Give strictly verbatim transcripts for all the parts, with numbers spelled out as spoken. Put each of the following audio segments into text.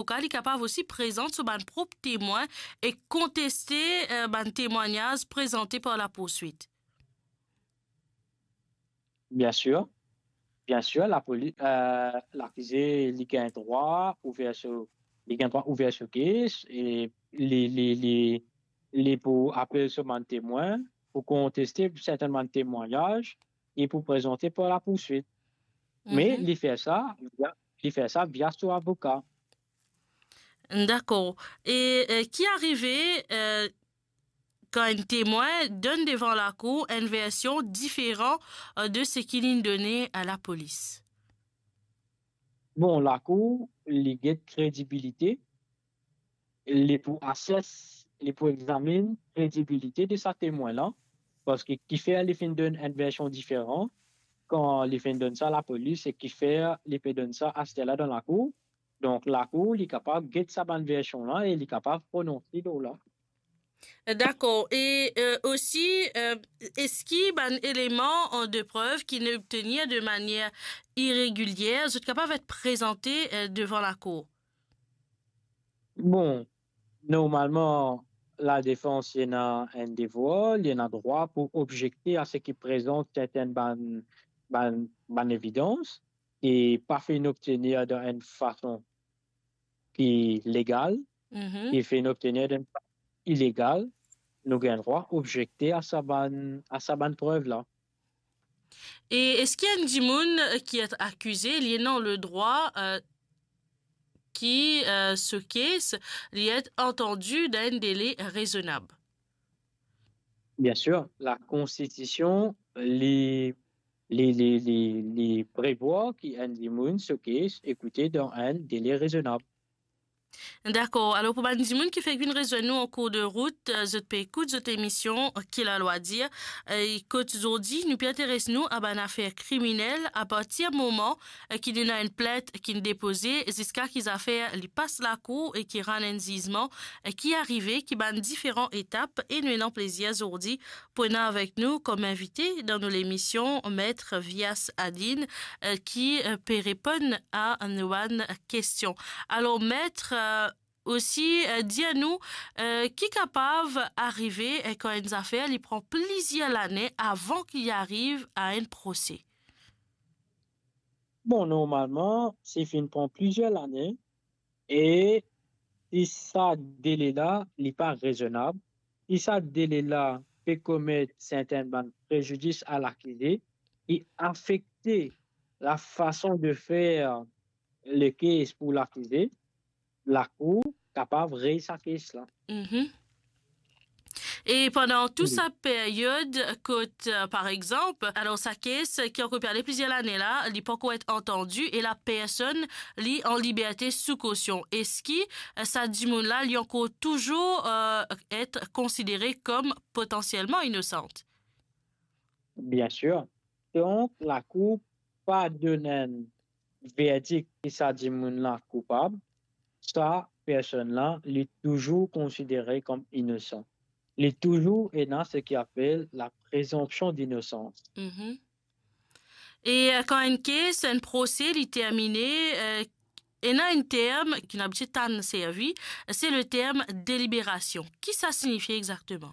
avoka, li kapav osi prezant so bann prop temwin e konteste, eh, bann temwagnaz prezante par lapourswit. Bien sir. Bien sir, lapoli-, eh, lakize, li gagn drwa ouver so, li gagn drwa ouver so kes e li, li, li, li pou apel so bann temwin, pou konteste sertin bann temwagnaz e pou prezante par lapourswit. Me Mhm. li fer sa via, li fer sa via so avoka. Dakor. E, eh, ki arive, eh, kan enn temwin donn devan lakour enn version diferan, eh, de seki linn done a lapolis? Bon, lakour, li get kredibilite, li pou ases, li pou examinn kredibilite de sa temwin la, parski kifer li finn donn enn version diferan kan li finn donn sa lapolis e kifer li pe donn sa aster la dan lakour. Donk, lakour, li kapav get sa bann version la e li kapav prononse lor la. Dakor. E, eh, osi, eh, eski bann eleman, eh, de prev ki'nn obtenir de manier iregilier, zot kapav et prezante, eh, devan lakour? Bon, normalman, ladefans, li ena enn devwar, li ena drwa pou objekte a seki prezant sertin bann, bann, bann evidans ki pa finn obtenir dan enn fason ki legal, Mhm. ki finn obtenir dan enn fason ilegal, nou gagn drwa objekte a sa bann, a sa bann prev la. E eski enn dimoun, eh, ki et akize, li ena ledrwa, eh, ki, eh, so kes, li et antandi dan enn dele rezonab? Bien sir, lakonstitision, li, li, li, li, li prevwar ki enn dimoun so kes ekoute dan enn dele rezonab. Dakor. Alor, pou bann dimoun ki fek vinn rezwenn nou an kour de rout, eh, zot pe ekout zot emision, eh, Ki Lalwa Dir. Eh, kot zordi, nou pe interes nou a bann afer kriminel, apartir moman, eh, ki ena enn plint ki'nn depoze, ziska ki zafer li pas lakour e ki rann enn zizman, eh, ki arive, ki bann diferan etap, e nou ena plezir zordi pou ena avek nou kom invite dan nou lemision, Met Vias Aline, eh, ki, eh, pe reponn a nou bann kestion. Alor, Met, eh, osi, eh, dir nou, eh, ki kapav arive, eh, kan enn zafer li pran plizier lane avan ki li ariv a enn prose? Bon, normalman, si finn pran plizier lane, e si sa dele la, li pa rezonab, si sa dele la pe komet sertin bann prezidis a lakize, ki afekte lafason de fer lekes pou lakize, lakour kapav rey sa kes la. Mhm. E pandan tou Wi. sa period, kot, eh, par exanp, alor sa kes ki ankor pe ale plizier lane la, li pankor et antandi e lapersonn li an liberte sou kosion, eski, eh, sa dimoun la, li ankor touzour, eh, et konsidere kom potansielman inosan? Bien sir. Donk, lakour pa donn enn verdik ki sa dimoun la koupab, sa personn la, li touzour konsidere kom inosan. Li touzour ena seki apel la prezonpsion dinosans. Mhm. E, eh, kan enn kes, enn prose, li termine, eh, ena enn term ki nou abitie tann servi, se le term deliberasion. Ki sa signifie exakteman?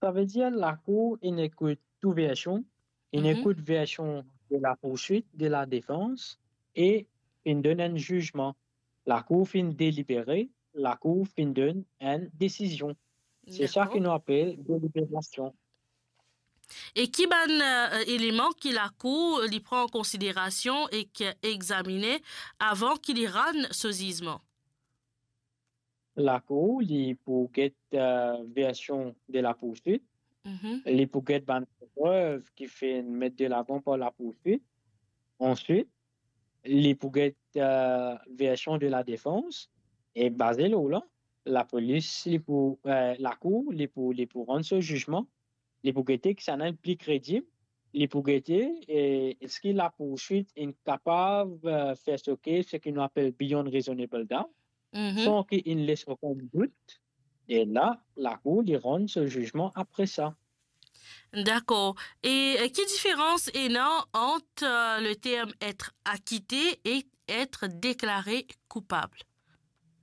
Savedir lakour inn ekout tou version, inn Mhm. ekout version de lapoursuit, de ladefans, e inn donn enn zizman. Lakour finn delibere, lakour finn donn enn desizion. Se sa Dakor. ki nou apel deliberasion. E ki bann, eh, eleman ki lakour li pran an konsiderasion ek examine avan ki li rann so zizman? Lakour, li pou get, eh, version de lapoursuit, Mhm. li pou get bann prev ki finn met delavan par lapoursuit. Answit, li pou get, eh, version de ladefans, e baze lor la, lapolis, li pou, eh, lakour, li pou, li pou rann so zizman, li pou gete kisannla pli kredib, li pou gete, eh, eski lapoursuit inn kapav, eh, fer so kes, seki nou apel beyond reasonable doubt, Mhm. san ki inn les okenn dout, e la, lakour, li rann so zizman apre sa. Dakor. E, eh, ki diferans ena ant, eh, le term être acquitté et être déclaré coupable?